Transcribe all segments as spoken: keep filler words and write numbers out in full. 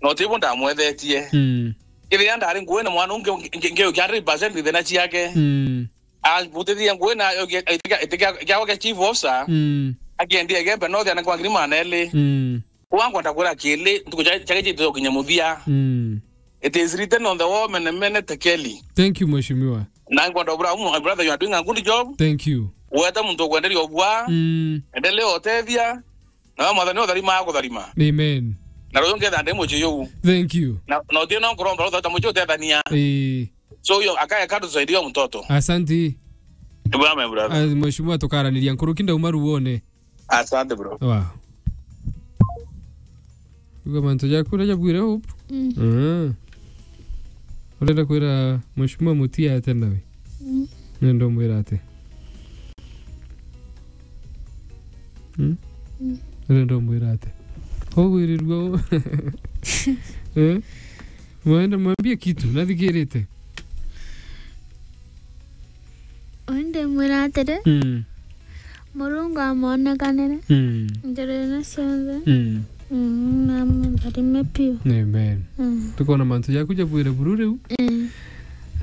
Na utibu ndamwethetie. Mm. Kethira ndari nguine mwana ungi, ngi-, ngi-, ngiukia hundred percent thina ciake. Mm. Ambutithia nguine, itikia, itikia, kiawa kia chief officer. Mm. Akiendia Igembe North ana kwa ngiri magana eli. Mm. Kwa ngwenda kwira kili, ntuku cia, ciake citu gukinya muthia. Mm. It is written on the wall, mene mene tekeli. Thank you, Mheshimiwa. Na ngwenda ubura, my brother, you are doing a good job. Thank you. Weta muntu ukwenderia ubwa. Mm. Endelea utethia. Na mwathani utharima agutharima. Amen. Na ruyu ngetha ndi mucii uu. Thank you. Na, na utie no nkuromba ruthota mucii utethania. Ii. So, yo, akaya kadu tusaidia mtoto. Asante. Ibura, my brother. Ah, Mheshimiwa, tukaraniria nkuruki ndauma ruone. Asante, bro. Wow. Uga mantu jaku uria jabwire Hope? Mm. Mm. Urenda kwira Mheshimiwa Mutia ate nawe? Mm. Nenda umwira ate? Mm? Mm. Urenda umwira ate? Ugwirirua u-, eh? Mwende mwambie kitu, nathikirite. Undi mwira atiri, mm, Murungu amonekanire, mm, njirene cionthe. Mm. Mm, na amutharime piu. Amen. Mm. Tukona mantu jaku jabwire buru riu. Mm.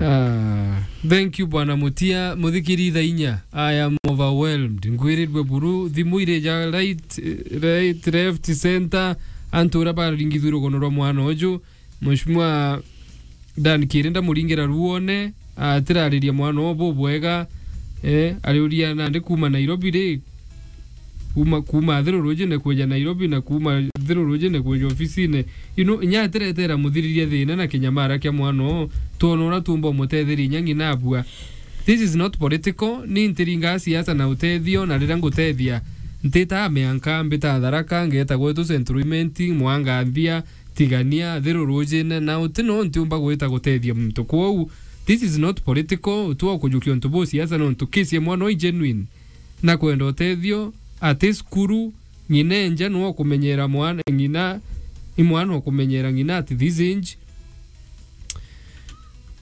Ah, thank you, Bwana Mutia. Muthikiri thaa inya. I am overwhelmed. Ngwirirwe buru. Thimu iri ja right, right, left, center. Antu uria baringithwe rugono rwa mwana uju. Mheshimiwa Dan Kiri ndamuringira ruone, atirariria mwana ubu bwega, eh, ariuria nandi kuuma Nairobi ri, kuuma, kuuma Thiru Rujine kweja Nairobi na kuuma Thiru Rujine kweja ofisine. You know, inya atiretera muthiriria thina na kinyamara kia mwana uu, twona uria tuumba umutetheria inya ng'ina abua. This is not political, ni ntiringaa siasa na utethio, na riria ngutethia, ntitaa mianka, mbitaa Tharaka, ngeeta gwetu Central Imenti, Mwanga Nthia, Tigania, Thiru Rujine, na uti no ntiumba gwita gutethia muntu. Kwou, this is not political, utua ukujukia untu bu siasa nontu case ya mwana uu i genuine. Na kwenda utethio, ati cukuru, ng'ina enja no kumenyera mwana, ng'ina, i mwana ukumenyera ng'ina at this age.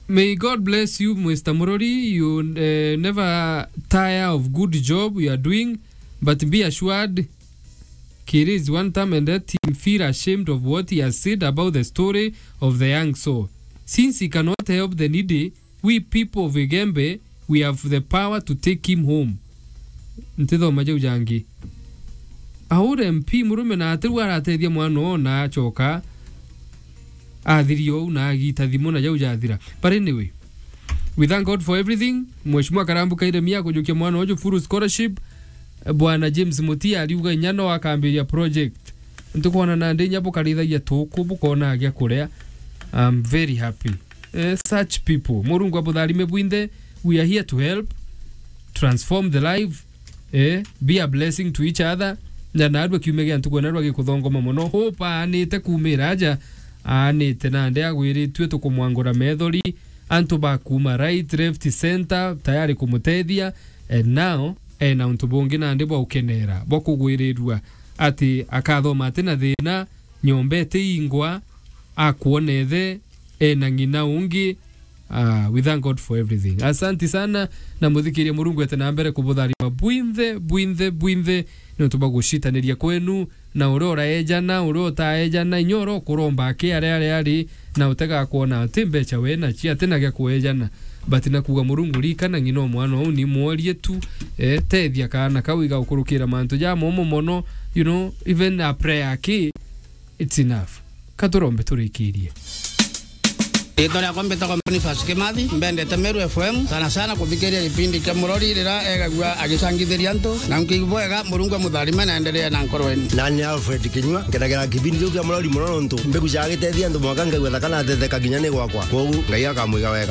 May God bless you, Mister Murori. You, eh, never tire of good job you are doing, but be assured Kiri is one time and let him feel ashamed of what he has said about the story of the young soul. Since he cannot help the needy, we people of Igembe, we have the power to take him home. Ntithoma jau jangi. Aure M P murume na ati riu aratethia mwana oo na acoka athiria uu na agita thimu na jau jathira. But anyway, we thank God for everything. Mheshimiwa Karambu Kairemia akujukia mwana uju full scholarship. Bwana James Mutia ariuga inya no akambiria project. Ntukwona nandi inya bukarithagia tuku bukona gia kuria. I'm very happy. Eh, such people. Murungu abutharime bwinthe. We are here to help transform the life. Eh, be a blessing to each other. Na narua kiumia gia ntuku na rwa gikuthongoma mono. Hope aanite kuumira aja, aanite nandi agwiritue tukumwangura methori. Antu ba kuuma right, left, center, tayari kumutethia. And now, ena untu bungi nandi bwa ukenera, bwa kugwirirua, ati akathoma ati na thina, nyomba itiingwa, akwona ithe, ena ng'ina ungi. Ah, we thank God for everything. Asanti sana, na muthikiria Murungu ete na mbere kubutharima bwinthe, bwinthe, bwinthe, nontu bwa gucitaniria kwenu, na uria uraejana, uria utaejana, inya uria ukuromba aki aria ari ari, na utega kwona ati mbeca we nacio, ati na gia kuejana. But na kuuga Murungu rikana ng'ina o mwana uu ni mworie tu, eh, tethia kaana kau igagukurukira mantu ja momo mono, you know, even a prayer aki, it's enough. Katurombe turikirie. Riitwa riakwa mbitagwa Boniface Kimathi, mbendete Meru F M, sana sana kuthikiria gipindi kia Murori riria egagua agicangithiria antu, na nkiigua bwega Murungu amutharime na endelee na nkoro yenu. Nani Alfred Kinyua, nkenagira kipindi kiu kia Murori mono nontu mbigucaga gitethia antu mwanka ngaigua thaka na ateteka kinya ni gwakwa. Kwogu Ngai akamwiga wega.